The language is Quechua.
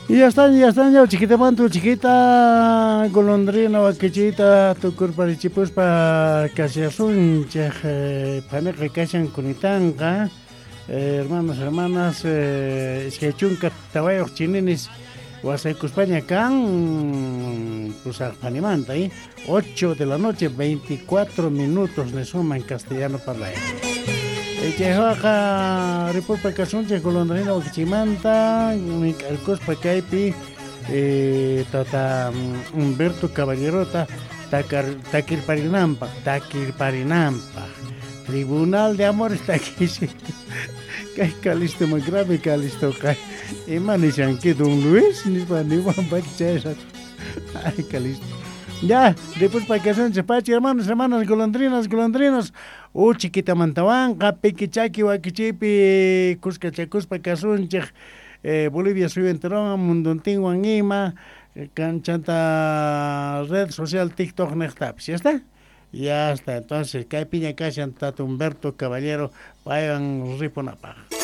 Y ya están, ya están, ya chiquita mantu, chiquita golondrina, wakichita, tukurparichipuspa kasiasunchej, paniqa kashan kunitanqa, hermanos, hermanas, iskay chunka tawayuq chininis wasaykuspaña kan pusaq panimanta, 8 de la noche, 24 minutos, le suma en castellano parlay. Chaywaqa ripurpa kasunchik golondrina wakichimanta mink'arkuspa kaypi tata Humberto Caballerota takirparinanpaq takirparinanpaq Tribunal de Amores takishi kay Calisto más grave Calisto kay ima nishanki don Luis nispa niwan chay ay Calisto. Ya, después para que son pachi, hermanos, hermanas, golondrinas, golondrinos. Chiquitamantawanqa, piki chaki wakichipi, kuska kasunchik, Bolivia suyu enterowan, munduntinwan ima, kanchanta red social TikTok niqtapis, ¿ya está? Ya está, entonces, kay piña kashan Tata Humberto Caballero, paywan ripunapaq.